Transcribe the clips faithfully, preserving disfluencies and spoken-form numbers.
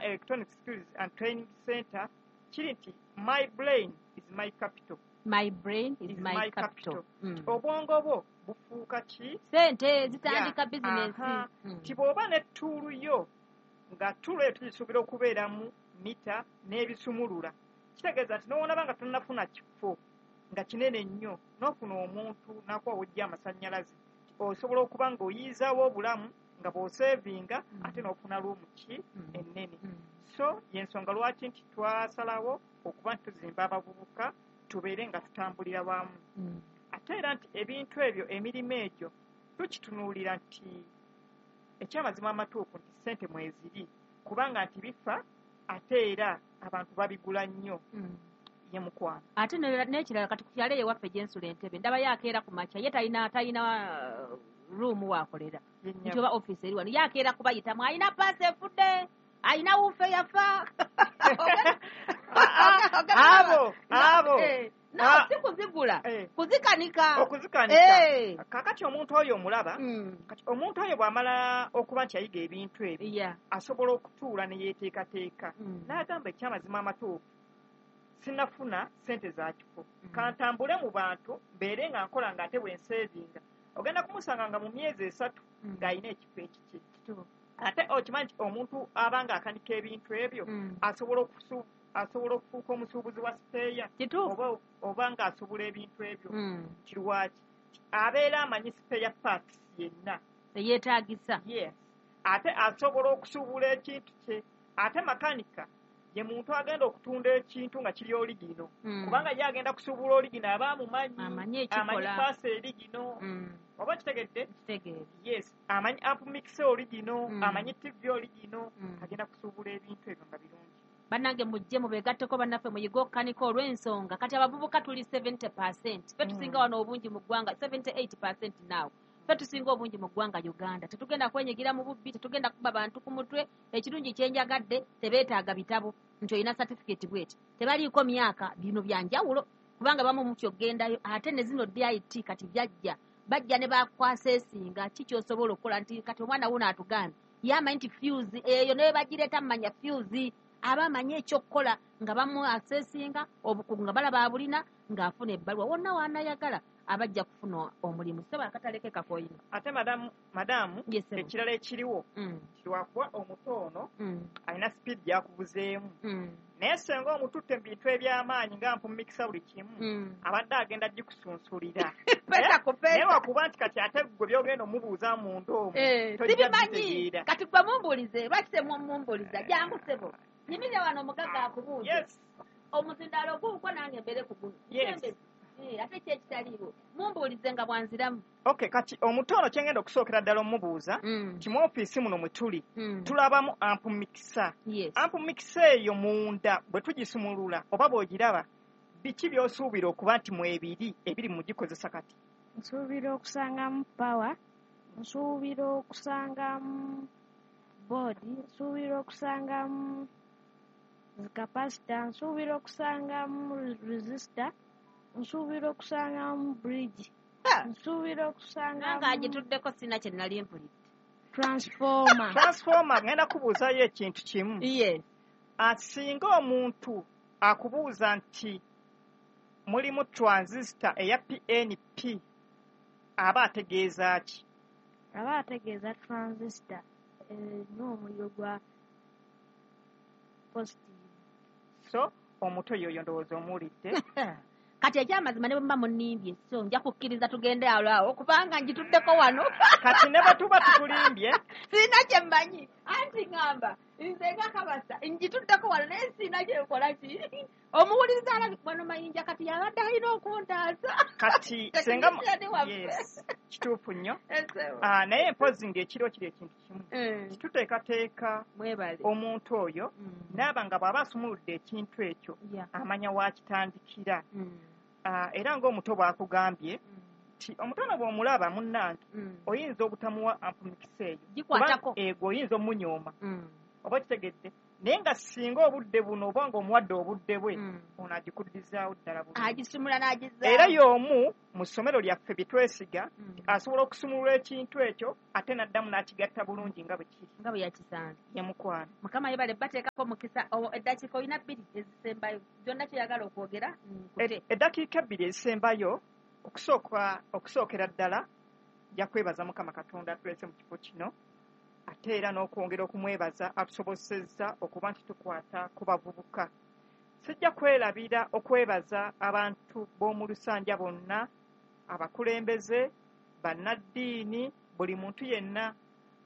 Electronic Skills and Training Center kiri nti my brain is my capital. My brain is Is my my capital. capital. Mm. Obwongo bwo bufuuka ki? Sente zitandika Yeah. bizinensi. Aha. Mm. Nti bw'oba ne tool yo, nga tool eyo tugisuubira okubeeramu mita n'ebisumulula, kitegeeza nti n'owoonaba nga tonnafuna kifo nga kinene nnyo, n'ofuna omuntu n'akuwa w'oggya amasannyalaze, osobola okuba ng'oyiizaawo obulamu nga bw'osevinga, Mm. ate n'ofuna room ki Mm. ennene. Mm. So y'ensonga lwaki nti twasalawo okuba nti tuzimba abavubuka tubeere nga tutambulira wamu. Mm. Ate era nti ebintu ebyo, emirimu egyo tukitunuulira nti ekyamazima amatuufu nti ssente mweziri, kubanga nti bifa ate era abantu babigula nnyo. Mm. Ye mukwano. Ate ne- n'ekirala, kati ku kyalo eyo ewaffe gyensula Entebe, ndabayo akeera ku makya, ye talina talina uh, room waakolera Ye nti nnyabo. oba ofiisi eri wano, ye akeera kubayitamu, alina paasi efudde, alina woofer yafa. Abo abo Eh, no, Ah. si kuzigula, Eh. kuzikanika. Okuzikanika. Eh. Kakati omuntu oyo omulaba, Mm. kati omuntu oyo bw'amala okuba nti ayiga ebintu ebyo, Yeah. asobola okutuula ne yeeteekateeka Mm. n'agamba, ekyamazima amatuufu sinafuna sente za kifo, Mm. kantambule mu bantu mbeere nga nkola, nga ate bwe nsevinga. Ogenda kumusanga nga mu myezi esatu Mm. ng'alina ekifo ekikye. Kituufu. Ate okimanyi nti omuntu aba nga akanika ebintu ebyo Mm. asobola okusu asobola okufuuka omusuubuzi wa spare kituufu oba oba ng'asobola ebintu ebyo. Mm. Kirwaki abeera amanyi spare parts yenna eyeetaagisa. Yes, ate asobola okusuubula ekintu kye. Ate makanika ye muntu agenda okutunda ekintu nga kiri original, Mm. kubanga ye agenda kusuubula original, aba amumanyi. Amanyi ekikola. Amanyi paasi original, Mm. oba kitegedde? Kitegeera. Yes, amanyi amp mixer original, Mm. amanyi T V original. Mm. Agenda kusuubula ebintu ebyo nga birungi. Bannange, mujje mubeegatteko bannaffe, muyige okukanika, olw'ensonga kati abavubuka tuli seventy percent, ffe tusinga Mm. wano obungi mu ggwanga, seventy-eight percent now, ffe tusinga obungi mu ggwanga Uganda. Tetugenda kwenyigira mu bubbi, tetugenda kuba bantu ku mutwe. Ekirungi kyenjagadde, tebeetaaga bitabo nti olina certificate bweti, tebaliiko myaka. Bino byanjawulo kubanga bamu mutyo oggendayo ate ne zino D I T kati byajja, bajja ne bakwaseesinga ki kyosobola okukola, nti kati omwana wuno atugambye ye amanyi nti fuse eyo ne bagireeta mumanya fuse, aba amanyi ekyokukola nga bamu asesinga obukugu nga balaba abulina, ng'afuna ebbaluwa wonna w'anayagala, abajja kufuna omulimu. Sebo, akataleke kakoyina. Ate madamu madamu Yes, sebo. Ekirala ekiriwo, Mm, kirwakuba omuto ono mm, alina speed gyakuvuzeemu, mm, naye senga omututte mu bintu eby'amaanyi nga mpumikisa buli kimu, mm. abadde agenda gikusunsulira. Pesa ku Naye pesa. wakuba nti kati ate gwe byogenda omubuuza munda omwo Eh, tojja sibimanyi. bitegeera. Kati gwe mumbuulize, lwaki temumumbuuliza? Jangu sebo, yimirira wano omugagga akubuuze. Yes. Omuzindaalo guukwo, nange mbeere ku guno. Yes. Sembezi. Eh, ate ki ekitaliiwo, mumbuulize nga bwanziramu. Okay, kati omuto ono kyengenda okusookera ddala omubuuza Mm, nti mu ofiisi muno mwe tuli mm. tulabamu amp mixer. Yes. Amp mixer eyo munda bwe tugisumulula oba bw'ogiraba, biki by'osuubira okuba nti mwebiri ebiri mu gikozesa kati? Nsuubira okusangamu power, nsuubira okusangamu board, nsuubira okusangamu zikapasita, nsuubira okusangamu resistor, nsuubira okusangamu bridge, Ha! nsuubira Nange okusangamu agituddeko, sina kye nali mpulidde. Transformer. Transformer. Ngenda kubuuzayo ekintu kimu. Yes. Singa omuntu akubuuza nti mulimu transistor eya P N P, aba ategeeza ki? Aba ategeeza transistor erina omuliro gwa positive. So omuto yoyo ndowooza omuwulidde. Kati ekyamazima, ne bwe muba munnimbye, so nja kukkiriza tugende alwawo kubanga ngituddeko wano. Kati ne bwe tuba tukulimbye, Sirina kye mmanyi, anti ŋŋamba nze nga kabasa ngituddeko wano, naye sirina kyenkola. Ki omuwuliriza alabi wano Mayinja kati yabadde alina okuntaasa. Kati senga Technician waffe. Yes, kituufu nnyo. Esebo. Ah, naye mpozi ng'ekiro kiri ekintu kimu, Eh, tuteekateeka mwebale. omuntu oyo Mm. naaba nga bw'aba asumuludde ekintu ekyo Yeah. amanya waakitandikira. Mm. Ah, era ng'omuto bw'akugambye Mm. nti omutono bw'omulaba munnange, Mm. oyinza obutamuwa amp mixer eyo. Gikwatako. Kuba ego oyinza omunyooma, Mm. oba kitegedde? Naye nga singa obudde buno oba ng'omuwadde obudde bwe, Mm. ono agikuddizaawo ddala bulungi. Agisumula n'agizaawo. Era y'omu mu ssomero lyaffe bye twesiga, Mm. asobola okusumulula ekintu ekyo ate n'addamu n'akigatta bulungi nga bwe kiri. Nga bwe yakisanze. Ye mukwano. Mukama yebale bateekako mukisa. O- eddakiika olina bbiri ezisembayo, gyonna kyoyagala okwogera nkute. E- eddakiika ebbiri ezisembayo, okusooka, okusookera ddala nja kwebaza Mukama Katonda atulese mu kifo kino, ate era n'okwongera okumwebaza atusobosezza okuba nti tukwata ku bavubuka. Sijja kwerabira okwebaza abantu b'omu Lusanja bonna, abakulembeze, bannaddiini, buli muntu yenna,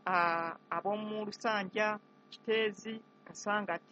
ah, ab'omu Lusanja, Kiteezi, Kasangati,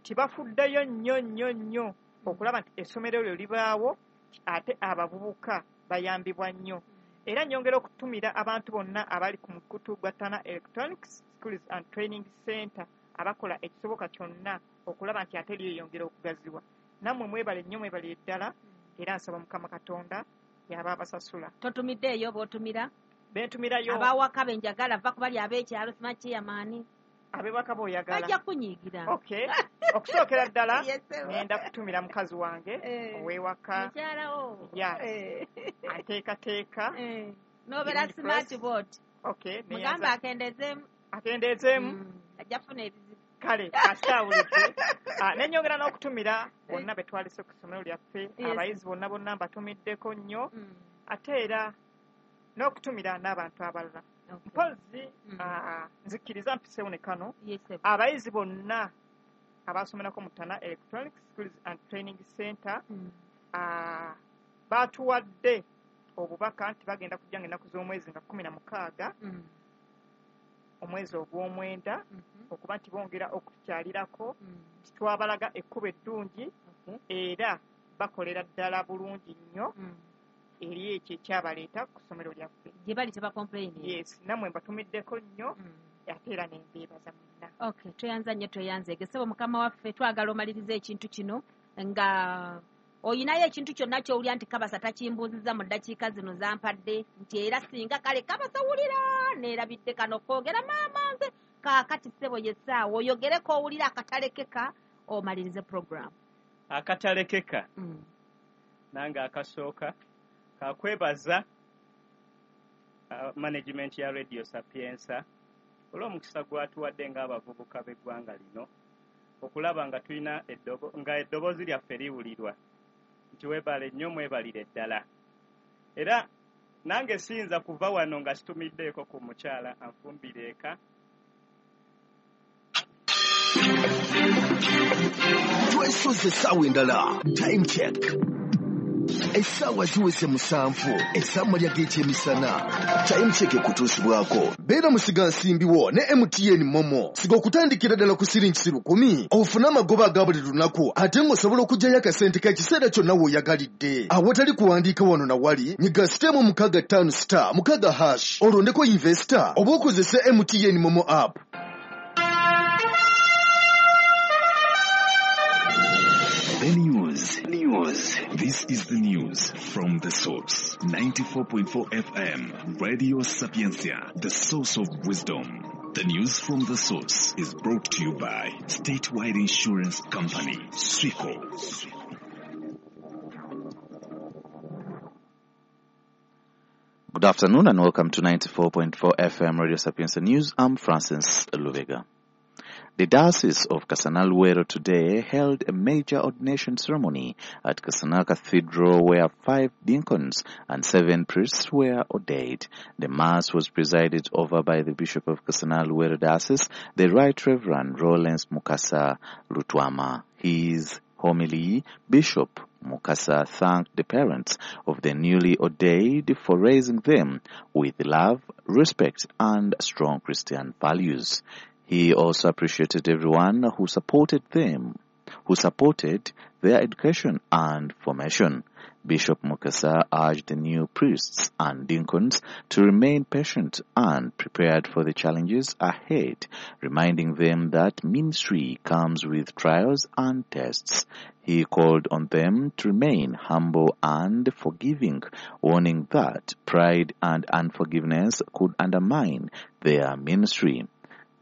tibafuddeyo nnyo nnyo nnyo okulaba nti essomero eryo libaawo, ate abavubuka bayambibwa nnyo. Era nnyongera okutumira abantu bonna abali ku mukutu gwa Tana Electronics Schools and Training Center abakola ekisoboka kyonna okulaba nti ate lyeyongera okugaziwa. Nammwe mwebale nnyo, mwebalire ddala, era nsaba Mukama Katonda y'aba abasasula. Totumiddeeyo b'otumira? Bentumirayo. Abawaka be njagala, va ku bali ab'ekyalo, simanyi chairman. Ab'ewaka b'oyagala. Bajja kunyiigira. Okay. Okusookera ddala, Yes, sir. ngenda kutumira mukazi wange Eh. ow'ewaka. Mukyalawo. Ya. Eh. Anteekateeka. Eh. N'obeera Green smart press. board. Okay, Mugambe neyanza. akendeezeemu. Akendeezeemu. Mm. Ajja kufuna ebizibu. Kale, kasitawulidde. Ah, ne nnyongera n'okutumira bonna be twalese ku ssomero lyaffe, Yes. abayizi bonna bonna mbatumiddeko nnyo, Mm. ate era n'okutumira n'abantu abalala. Okay. Mpozzi, Mm. ah, nzikiriza mpiseewo ne kano, Yes, sir. abayizi bonna abaasomerako mu Tana Electronic Schools and Training Center, Mm. ah, baatuwadde obubaka nti bagenda kujja ng'ennaku z'omwezi nga kkumi na mukaaga, Mm. omwezi ogw'omwenda, Mhm. okuba nti bongera okutukyalirako, Mm. nti twabalaga ekkubo eddungi, Okay. era bakolera ddala bulungi nnyo Mm. eri ekyo ekyabaleeta ku ssomero lyaffe. Gye bali tebacomplain. Yes, nammwe mbatumiddeko nnyo, Mm. ate era ne mbeebaza mwenna. Okay, tweyanza nnyo, tweyanzeege. Ssebo mukama waffe, twagala omalirize ekintu kino nga oyinayo ekintu kyonna ky'owulira nti Kabasa takimbuuzizza mu ddakiika zino zampadde, nti era singa kale Kabasa wulira neerabidde kano kwogera maama nze kaakati. Ssebo ye ssaawa oyogereko owulira akatalekeka omalirize program. Akatalekeka Mm. nange akasooka kakwebaza, uh, management ya Radio Sapienza olw'omukisa gwatuwadde ng'abavubuka b'eggwanga lino okulaba nga tulina eddobo, nga eddoboozi lyaffe liwulirwa, nti weebale nnyo, mwebalire ddala. Era nange siyinza kuva wano nga situmiddeeko ku mukyala anfumbira eka. Twesoze essaawa endala. Time check, essaawa ziweze musanvu ez'amalya g'ekyemisana. Time check ekutuusibwako beera musigansimbi wo ne M T N MoMo. Siga okutandikira ddala ku siringi lukumi ofune amagoba aga buli lunaku, ate ng'osobola okuggyayo akasente k'ekiseera kyonna w'oyagalidde awatali kuwandiika wano na wali. Nyiga star mukaaga ttaano star mukaaga hash, olondeko investor oba okozese M T N MoMo app. The news. News. This is the news from the source. ninety-four point four F M. Radio Sapientia, the source of wisdom. The news from the source is brought to you by Statewide Insurance Company, SWICO. Good afternoon and welcome to ninety-four point four F M Radio Sapientia News. I'm Francis Lubega. The Diocese of Kasana Luwero today held a major ordination ceremony at Kasana Cathedral where five deacons and seven priests were ordained. The Mass was presided over by the Bishop of Kasana Luwero Diocese, the Right Reverend Rollins Mukasa Lutwama. His homily, Bishop Mukasa thanked the parents of the newly ordained for raising them with love, respect, and strong Christian values. He also appreciated everyone who supported them, who supported their education and formation. Bishop Mukasa urged the new priests and deacons to remain patient and prepared for the challenges ahead, reminding them that ministry comes with trials and tests. He called on them to remain humble and forgiving, warning that pride and unforgiveness could undermine their ministry.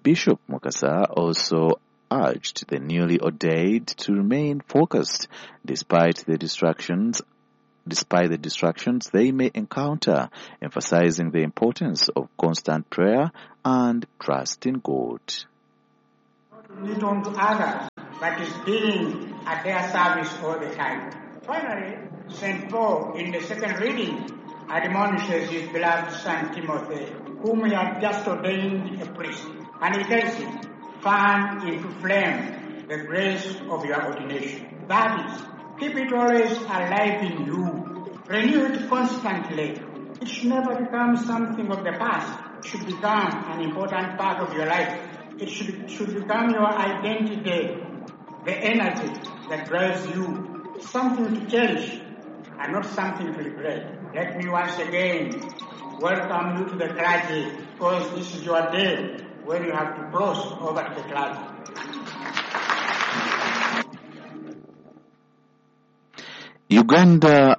Bishop Mukasa also urged the newly ordained to remain focused despite the distractions despite the distractions they may encounter, emphasizing the importance of constant prayer and trust in God. Not need unto others, but is being at their service all the time. Finally, Saint Paul, in the second reading, admonishes his beloved son Timothy, whom he had just ordained a priest, and he tells him, fan into flame the grace of your ordination. That is, keep it always alive in you. Renew it constantly. It should never become something of the past. It should become an important part of your life. It should, should become your identity, the energy that drives you, something to cherish and not something to regret. Let me once again welcome you to the clergy, because this is your day when you have to cross over to the clergy. Uganda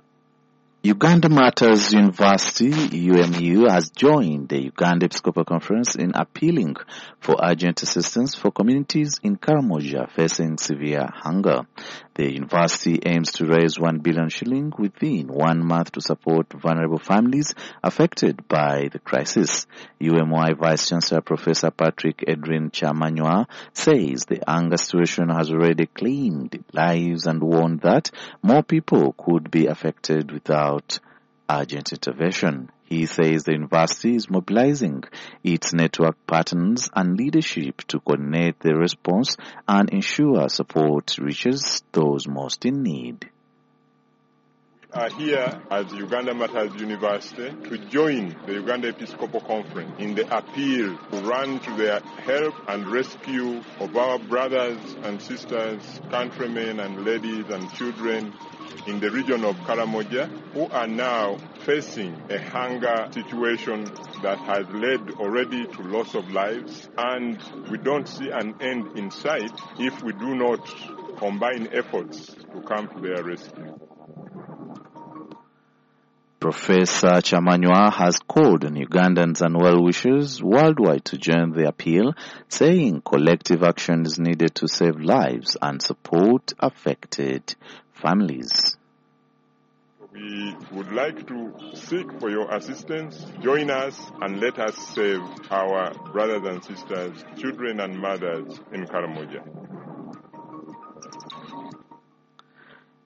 Uganda Martyrs University, U M U, has joined the Uganda Episcopal Conference in appealing for urgent assistance for communities in Karamoja facing severe hunger. The university aims to raise one billion shilling within one month to support vulnerable families affected by the crisis. U M Y Vice Chancellor Professor Patrick Edwin Kyamanywa says the hunger situation has already claimed lives and warned that more people could be affected without urgent intervention. He says the university is mobilizing its network partners and leadership to coordinate the response and ensure support reaches those most in need. We are here as Uganda Martyrs University to join the Uganda Episcopal Conference in the appeal to run to the help and rescue of our brothers and sisters, countrymen and ladies and children in the region of Karamoja, who are now facing a hunger situation that has led already to loss of lives, and we don't see an end in sight if we do not combine efforts to come to their rescue. Professor Kyamanywa has called on Ugandans and well-wishers worldwide to join the appeal, saying collective action is needed to save lives and support affected families. We would like to seek for your assistance. Join us and let us save our brothers and sisters, children and mothers in Karamoja.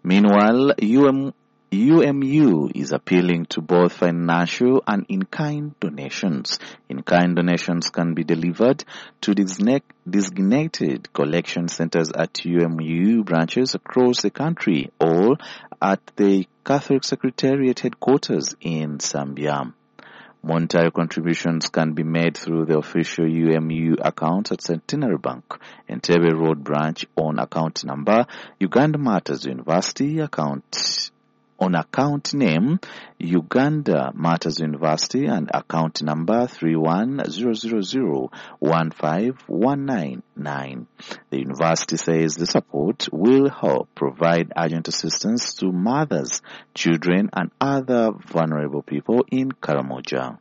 Meanwhile, U M U M U is appealing to both financial and in-kind donations. In-kind donations can be delivered to designated collection centers at U M U branches across the country or at the Catholic Secretariat headquarters in Zambia. Monetary contributions can be made through the official U M U account at Centenary Bank, Entebbe Road branch on account number Uganda Martyrs University account on account name Uganda Martyrs University and account number three one zero zero zero one five one nine nine. The university says the support will help provide urgent assistance to mothers, children and other vulnerable people in Karamoja.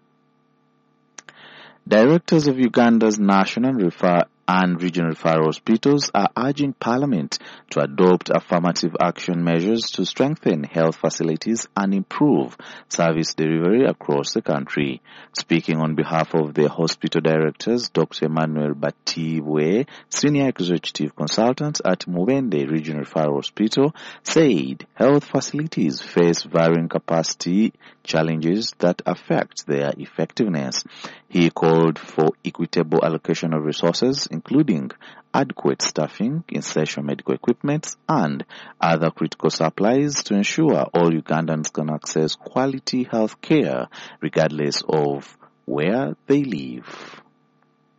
Directors of Uganda's National Refer and regional referral hospitals are urging Parliament to adopt affirmative action measures to strengthen health facilities and improve service delivery across the country. Speaking on behalf of the hospital directors, Doctor Emmanuel Batibwe, Senior Executive Consultant at Mubende Regional Referral Hospital, said health facilities face varying capacity challenges that affect their effectiveness. He called for equitable allocation of resources, including adequate staffing, essential medical equipment, and other critical supplies to ensure all Ugandans can access quality health care regardless of where they live.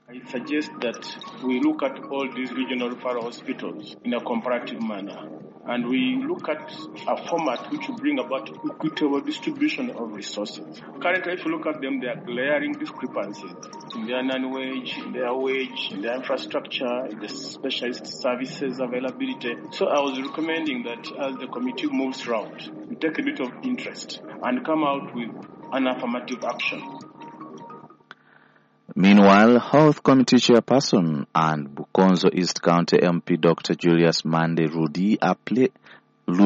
I suggest that we look at all these regional referral hospitals in a comparative manner, and we look at a format which will bring about equitable distribution of resources. Currently, if you look at them, there are glaring discrepancies in their non-wage, in their wage, in their infrastructure, in the specialist services availability. So I was recommending that as the committee moves round, we take a bit of interest and come out with an affirmative action. Meanwhile, Health Committee Chairperson and Bukonzo East County M P Doctor Julius Mande Rudi